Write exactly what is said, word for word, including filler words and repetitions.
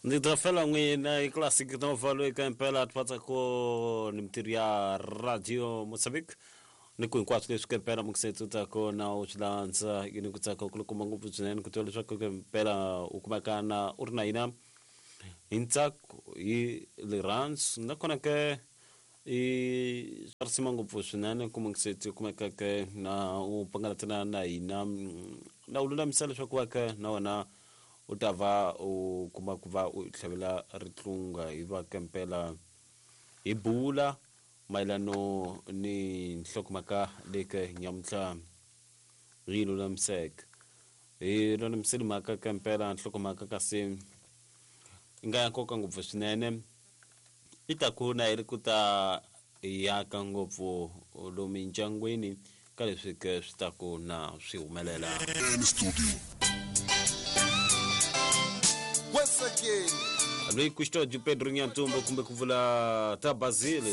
Ndzi ta fela n'wina i Classic Nova loyi ka impela twatsako ni mitirho ya Radio Mozambique ni ku hinkwaswo leswi ka impela mukisetsi u tsako na u swi landza ni ku tsaka ku kuma ngopfu swinene ku tiva leswaku ka impela u kumeka na u ri na hina hi ntsako hi rirhandzu nakona ke i swa risima ngopfu swinene ku mukisetsi u kumeka ke na u pangalatana na hina na u lulamisa leswaku va ke na wena u ta va u kuma ku va u tlhavela ritlunga hi va kempela hi bula mayelano ni nhlokomhaka leyi ke nyamuntlha hi lulamiseke hi lulamisele mhaka kempela nhlokomhaka kasi yi nga ya nkoka ngopfu swinene i ta ku na yi ri ku ta yaka ngopfu lomu mindyangwini ka leswi ke swi ta ku na swi humelela. Once again, loyi Custódio Pedro Nhantumbo kumbe ku vula ta Basile.